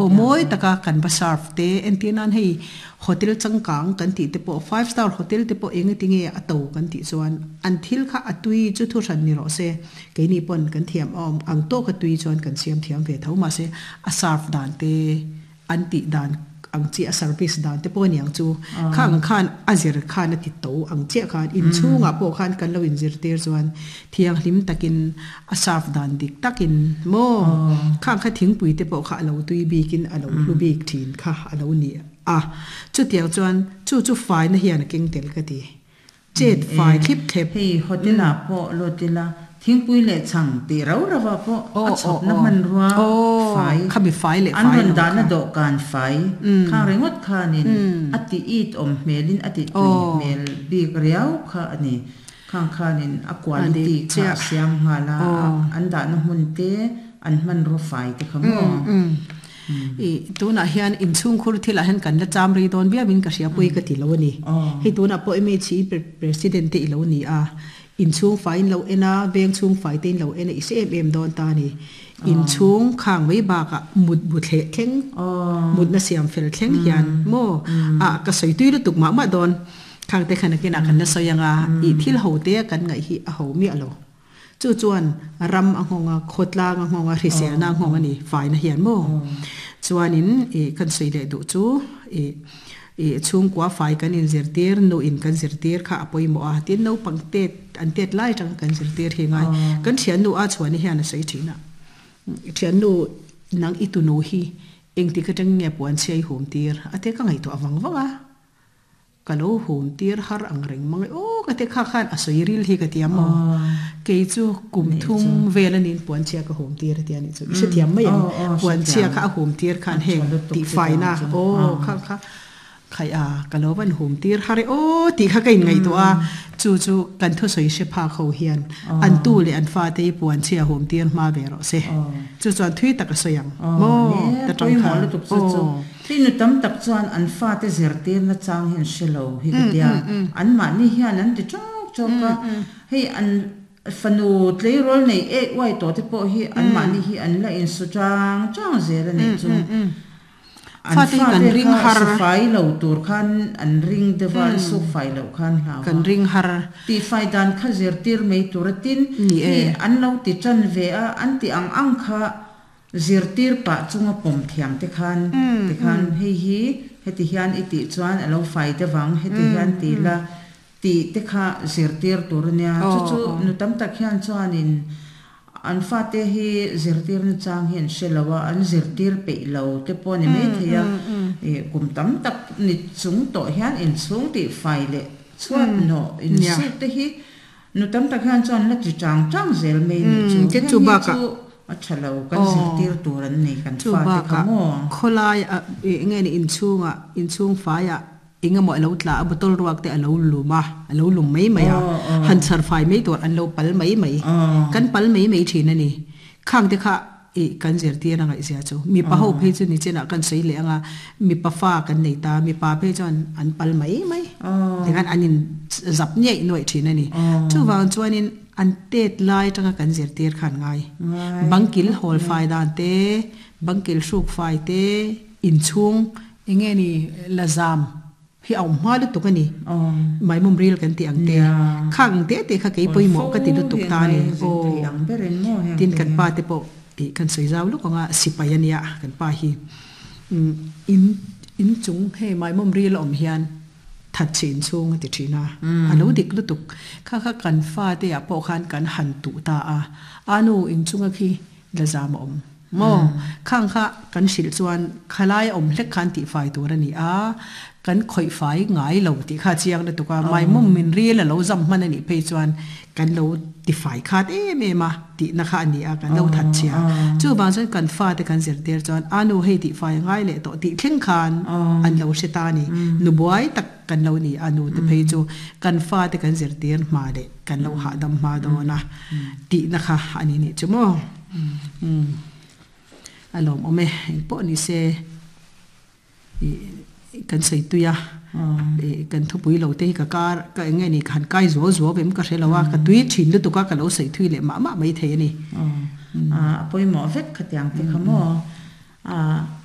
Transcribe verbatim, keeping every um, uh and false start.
O mawi taka kan va serve te entir nan hei hotel changkang kan tih te pawh five star hotel te pawh eng eti nge a to kan tih chuan an thil kha a tui chu thu hran ni rawh se keini pawn kan thiam awm ang tawk a tui chuan kan siam thiam ve tho mahse a serve dan te an tih dan ang chi a service dan te pawh aniang chu khang khan a zir khan a ti to ang chiah khan inchhungah pawh khan kan lo inzirtir chuan thianghlim takin a serve dan dik takin maw khang kha thingpui te pawh kha a lo tui bikin a lo hlu bik thin kha a lo ni a chutiang chuan chu chu faina hian a keng tel ka ti chet fai thlip thlep Hei hotel ah pawh lut ila thingpui leh chhang tih rau rau ah pawh a chhawpna hmanrua fai khami fai leh an fai rawn lo dahna kha dawhkan fai khang ringawt khanin a ti it awm hmelin a ti tui hmel bik riau kha a ni. Khang khanin a quality kha a siam nghal a, an dahna hmun te an hmanrua fai te kha maw. I tunah hian inchhungkhur thilah hian kan la cham rei dawn viauin ka hria pui ka ti lo a ni. Hei tunah pawh M H E President te i lo ni a, inchhung fai in lo en a, veng chhung fai te in lo en a, i hre em em dawn ta a ni. Inchhung khang mai bakah mut bu thleh thleng, mutna siam fel thleng hian maw a ka sawi tui lutuk mah mah dawn. Khang te khan nakinah kan la sawi ang a, i thil ho te kan ngaih hi a ho miah lo. Chu chuan ram a nghawng a, khawtlang a nghawng a, hriselna a nghawng a ni, faina hian maw? Chuanin ih kan sawi leh duh chu ih ih chhungkua fai kan inzirtir, nu in kan zirtir kha a pawimawh a, tin naupang tet an tet lai atanga kan zirtir hi ngai. Kan thiannu a chhuani hian a sawi thin a, thiannu nang i tunu hi engtik atang nge puan chhiai hum tir a te ka ngaihtuah vang vang a. Ka lo hum tir har ang reng mang e aw ka ti kha khan a sawi ril hi ka ti a maw kei chu kum thum vel a niin puan chhia ka hum tir a ti a nih chu i hrethiam mai ang puan chhia kha a hum tir khan heng tihfaina aw kha kha khaih a ka lo van hum tir har e aw tih kha ka inngaihtuah a chu chu kan thusawi hre phak ho hian an tu leh an fate hi puan chhia hum tir hma ve rawh se chu chuan thui tak a sawi ang maw ta tang khan aw. Hei nu tam tak chuan an fate zirtirna chang hi an hre lo hi ka tia, anmahni hian an ti chawk chawk a, hei an fanu tleirawl nei ek uai tawh te pawh hi anmahni hi an la insu chang chang zel a nih chu. An Fate hi kan fate ring kha har. Sufai lo tur khan an ring deuh a, an sukfai loh khan hlau Kan a. ring har. Tihfai dan kha zirtir mai tur a tin, Ni hei e. an lo ti tan ve a, an ti ang ang kha zirtir pah chunga pawm thiam te khan tikhan hei hi heti hian i tih chuan a lo fai deuh ang, heti hian ti la tih te kha zirtir tur a nia. Chu Aw chu aw. nu tam tak hian chuanin an fate hi zirtir nachang hi an hre lo a, an zirtir peih lo te pawh a ni maithei a, ih kum tam tak ni chung tawh hian inchhung tih fai leh chhuat hnawh Nia. insuk te hi nu tam tak hian chuan la ti chang chang zel mai nih chu. Umm Heng chu hi bakah chu a tha lo, kan aw zirtir tur an ni kan chu fate kha bakah maw. Khawlai ah ih nge ni inchhungah inchhung faiah engemaw a lo tla a bottle ruak te a lo lum a, a lo lum mai mai a, Aw aw. han chhar fai mai tur an lo pal mai mai. Aw. Kan pal mai mai thin a ni. Khang te kha ih kan zirtir a ngaihzia chu. Mipa ho phei chu ni chenah kan sawi leh ang a, mipa fa kan nei ta, mipa phei chuan an pal mai mai. Aw. Tikhan an in zap ngeih nuaih thin a ni. Aw. Chuvang chuanin an tet lai atanga kan zirtir khan ngai. Ngai. Bangkil hawl fai dan te, bangkil hruk fai te, inchhung eng nge ni la zam hi a awm hma lutuk a ni. Aw. Maimawm ril kan tih ang te. Nia. Khang ang te te kha kei Hawn pawimawh fo ka ti lutuk hi ta a ngai ni. zin Aw. thei ang berin maw heng Tin te kan hi. pa te pawh ih kan sawi zau luk ang a, sipai a nia kan pa hi. Umm in inchung hei maimawm ril a awm hian that chhe inchhung a ti thin a, a lo dik lutuk. Kha kha kan fate ah pawh khan kan han tuh ta a, a nu inchunga khi la zam a awm maw? Khang kha kan hrilh chuan khalai a awm hlek khan tihfai tur a ni a, kan khawih fai ngai lo tih kha a chiang lutuk a, maimawm min ril a lo zam hman a nih phei chuan kan lo tifai khat em em a tihna kha a ni a, kan lo that chhia. Chuvang chuan kan fate kan zirtir chuan a nu hei tihfai a ngai leh tawh tih thleng khan an lo hre ta a ni. Nu buai tak kan lo ni a, nu te phei chu kan fate kan zirtir hma leh kan lo hahdam hma dawn a tihna kha a ni nih chu maw. Umm a lawmawm e, engpawh ni se ih kan sawi tui a, ih kan thupui lo te hi ka kar ka eng nge ni ka han kai zuau zuau em ka hre lo a, ka tui thin lutuk a ka lo sawi thui leh mah mah mai thei a ni. A pawimawh vek khatiang te kha maw.